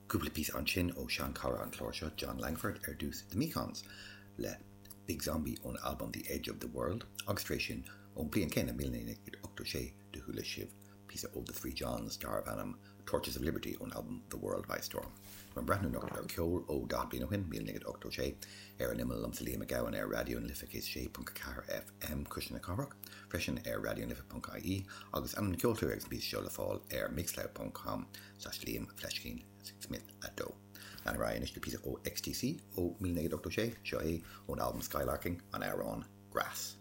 Cúpla píosa ansin ó sheanchara an chláir seo, Jon Langford, ar dtús The Mekons le Big Zombie ón albam The Edge of the World agus tar éis sin ón bliain céanna, 1986, do chuala sibh píosa ó The Three Johns darbh ainm Torches of Liberty ón albam The World by Storm. Táim ag breathnú anocht ar cheol ó 40 bliain ó shin, 1986, ar an imeall liomsa Liam Mac Gabhann ar Raidió na Life 106.4 FM, Cuisle na Cathrach, freisin ar raidionalife.ie agus ainm na gceoltóirí agus an píosa seo le fáil ar mixcloud.com slash Liam Fleiscín Smith 2. Lean ar aghaidh anois le píosa ó XTC ó 1986, seo é ón albam Skylarking, an amhrán Grass.